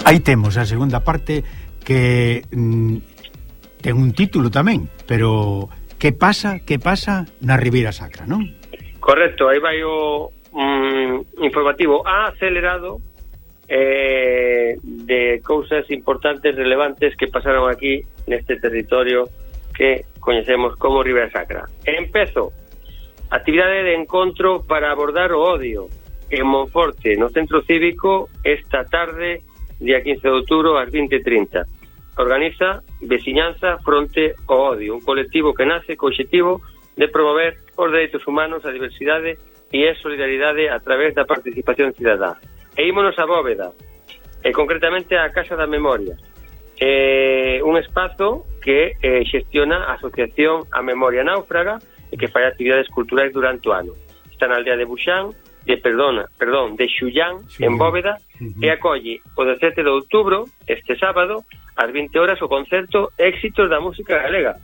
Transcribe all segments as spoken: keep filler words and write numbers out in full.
aí temos a segunda parte que mm, ten un título tamén, pero que pasa, que pasa na Ribeira Sacra, non? Correcto, aí vai o um, informativo acelerado eh, de cousas importantes, relevantes que pasaron aquí neste territorio que coñecemos como Ribeira Sacra. Empezo, actividade de encontro para abordar o odio en Monforte, no Centro Cívico, esta tarde, día quince de outubro, ás vinte e trinta. Organiza Veciñanza Fronte ao Odio, un colectivo que nace co obxectivo de promover os dereitos humanos, a diversidade e a solidaridade a través da participación cidadá. E ímonos a Bóveda, e concretamente a Casa da Memoria, eh, un espazo que eh, xestiona a Asociación a Memoria Náufraga e que fai actividades culturais durante o ano. Está na aldea de Buxán, de perdona, perdón, de Xullán, Xullán, en Bóveda, uh-huh. e acolle o dezasete de outubro, este sábado, ás vinte horas, o concerto Éxitos da Música Galega,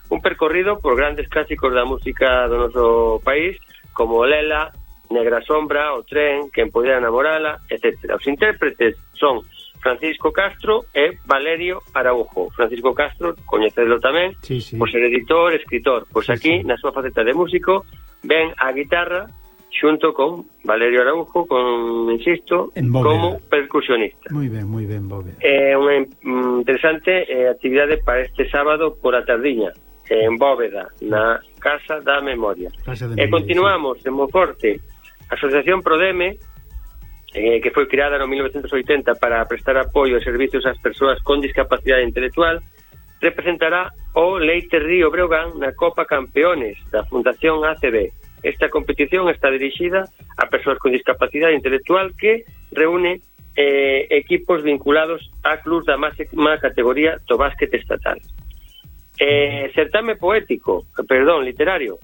un percorrido por grandes clásicos da música do noso país, como Lela, Negra Sombra, O Tren, Quen Podera Namorala, etcétera. Os intérpretes son Francisco Castro e Valerio Araujo. Francisco Castro, coñecedlo tamén, sí, sí. por ser editor, escritor. Pois sí, aquí, sí. na súa faceta de músico, ven a guitarra xunto con Valerio Araujo, con, insisto, como percusionista. Moi ben, moi ben, Bóveda. É eh, unha interesante eh, actividade para este sábado por a tardiña, en Bóveda, na Casa da Memoria. Casa de e Memoria, continuamos sí. en Monforte. A Asociación Prodeme, eh, que foi creada no mil novecentos oitenta para prestar apoio e servicios ás persoas con discapacidade intelectual, representará o Leite Río Breogán na Copa Campeones da Fundación A C B. Esta competición está dirixida a persoas con discapacidade intelectual que reúne eh, equipos vinculados a clubs da máxima categoría do básquet estatal. Eh, certame poético, perdón, literario.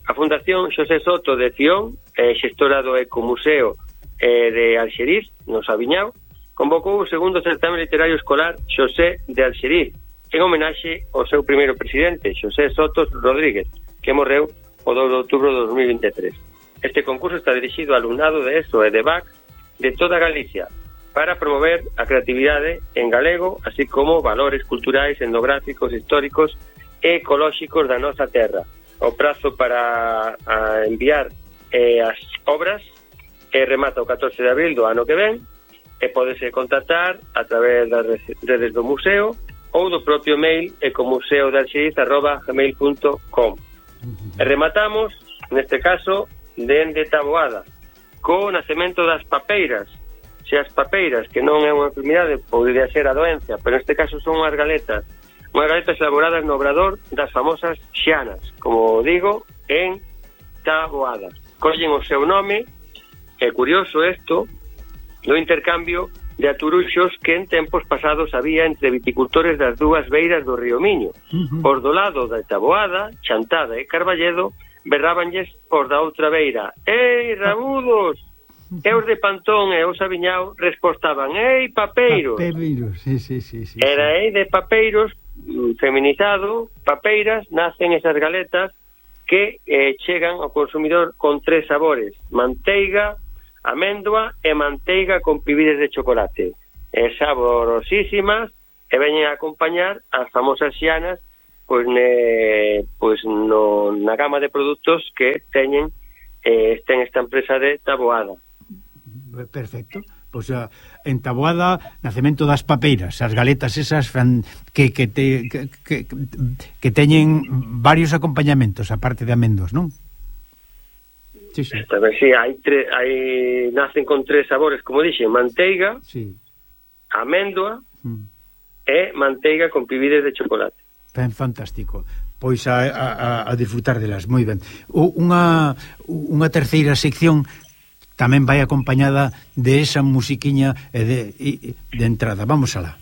A Fundación Xosé Soto de Ción, eh, xestora do Ecomuseo eh, de Alxeriz, no Sabiñao, convocou o segundo certame literario escolar Xosé de Alxeriz, en homenaxe ao seu primeiro presidente, Xosé Sotos Rodríguez, que morreu o dous de outubro de dos mil vinte e tres. Este concurso está dirixido ao alumnado de ESO e de B A C de toda Galicia para promover a creatividade en galego, así como valores culturais, etnográficos, históricos e ecolóxicos da nosa terra. O prazo para a enviar eh, as obras eh, remata o catorce de abril do ano que ven e podese contactar a través das redes do museo ou do propio mail ecomuseodealxeriz arroba gmail punto com. E rematamos, neste caso, dende Taboada, co nacemento das papeiras. Se as papeiras, que non é unha enfermidade, podría ser a doenza, pero neste caso son unhas galetas, unhas galetas elaboradas no obrador das famosas xianas, como digo, en Taboada. Collen o seu nome, é curioso isto, do intercambio de aturuxos que en tempos pasados había entre viticultores das dúas beiras do río Miño. Uh-huh. Os do lado da Taboada, Chantada e Carballedo, berrábanlles os da outra beira: "Ei, rabudos!" Uh-huh. E os de Pantón e o Sabiñao respostaban: "Ei, papeiros!" Papeiros, sí, sí, sí, sí. Era ei de papeiros, feminizado, papeiras, nacen esas galetas que eh, chegan ao consumidor con tres sabores: manteiga, améndoa e manteiga con pibides de chocolate. É saborosísimas e veñen a acompañar as famosas xianas pois, ne, pois no, na gama de produtos que teñen eh, ten esta empresa de Taboada. Perfecto. Pois a, en Taboada, nacemento das papeiras, as galetas esas fran, que, que, te, que, que, que teñen varios acompañamentos, aparte de amendos, non? Sí, sí. Tamén, sí, hai, tre, hai nacen con tres sabores, como dixen, manteiga, sí. améndoa mm. e manteiga con pibides de chocolate. Ben fantástico. Pois a, a, a disfrutar delas, moi ben. O, unha, unha terceira sección tamén vai acompañada de esa musiquiña e de, de entrada. Vamos alá.